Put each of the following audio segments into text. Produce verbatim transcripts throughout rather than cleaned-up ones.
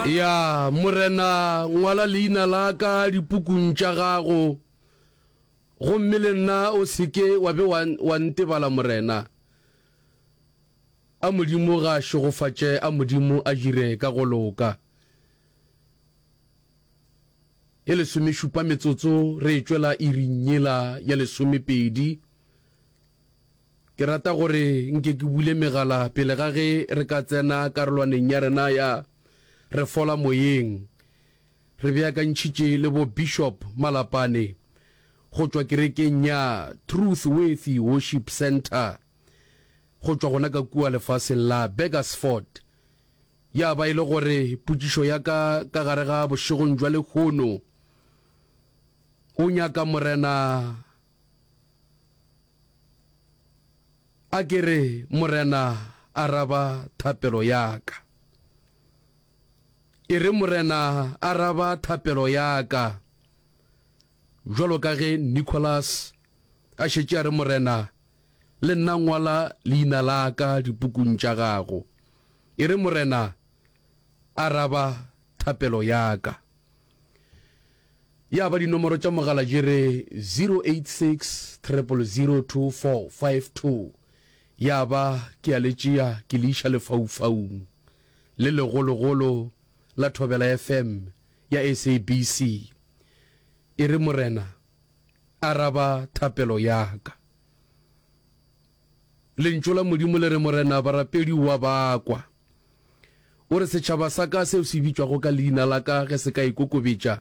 Ya, Morena, ngwala leina la ka dipukung tša gago, gomme le nna o se ke wa be wa, wa ntebala, Morena. A Modimo ga a šegofatše, a Modimo a dire ka go loka. E lesomešupa metsotso re e tšwela iring yela ya lesomepedi. Ke rata gore nke ke bule megala pele ga ge re ka tsena karolwaneng ya rena ya Re Fola Moyeng. Re beakantšhitše le bo Bishop Malapane go tšwa kerekeng ya Truth Worthy Worship Centre go tšwa gona ka kua lefaseng la Burgersfort. Ya ba e le gore potšišo ya ka ka gare ga bošegong jwa lehono, O nyaka Morena a ke re, Morena, araba thapelo ya ka. E re, Morena, araba thapelo ya ka. Bjalo ka ge Nicholas a šetše a re, Morena, le nna ngwala leina la ka dipukung tša gago. E re, Morena, araba thapelo ya ka. Ya ba dinomoro tša mogala di re zero eight six triple zero two four five two. Ya ba ke a le tšea ke le iša lefaufaung le legologolo la Thobela F M ya S A B C. E re, Morena, araba thapelo ya ka. Lentšu la Modimo le re, Morena, barapedi o a ba kwa. O re, Setšhaba sa ka seo se bitšwago ka leina la ka ge se ka ikokobetša,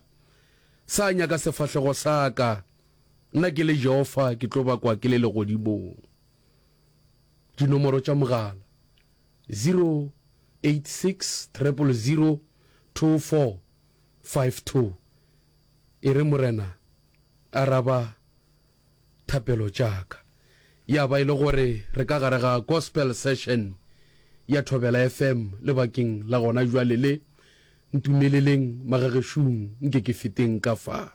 sa nyaka sefahlego sa ka, nna ke le Jehofa ke tlo ba kwa ke le legodimong. Dinomoro tša mogala, zero eight six triple zero two four five two. E re, Morena, araba thapelo tša ka. Ya ba e le gore re ka gare ga Gospel Session ya Thobela F M lebakeng la gona bjale le. Ntumeleleng magagešung nke ke feteng ka fa.